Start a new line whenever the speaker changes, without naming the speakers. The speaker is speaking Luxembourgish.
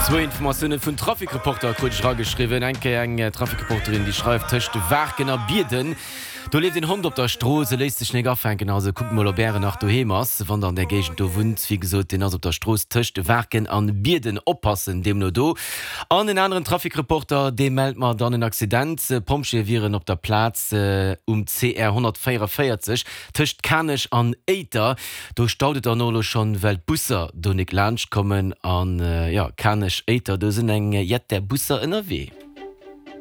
Zwou Informatioune vun Trafic-Reporter krut ech erageschriwwen. Eng Kéier eng Trafic-Reporterin, déi schreift, Tëscht Waarken a Bierden, do leeft een Hond op der Strooss, e léisst sech nek afänken. Also kuckt mol, ob ären nach doheem ass, wann der an där Géigend do wunnt. Wéi gesot, deen ass op der Strooss tëscht Waarken an Bierden. Oppassen deemno do. An en aneren Trafic-Reporter, dee mellt mer dann en Accident. Pompjeeë wieren op der Plaz um CR 144 tëscht Kanech an Éiter. Do staut et dann och elo schonn, well d'Busser do nik laanscht kommen. An jo, Kanech, Éiter, do sinn eng jett där Busser ënnerwee.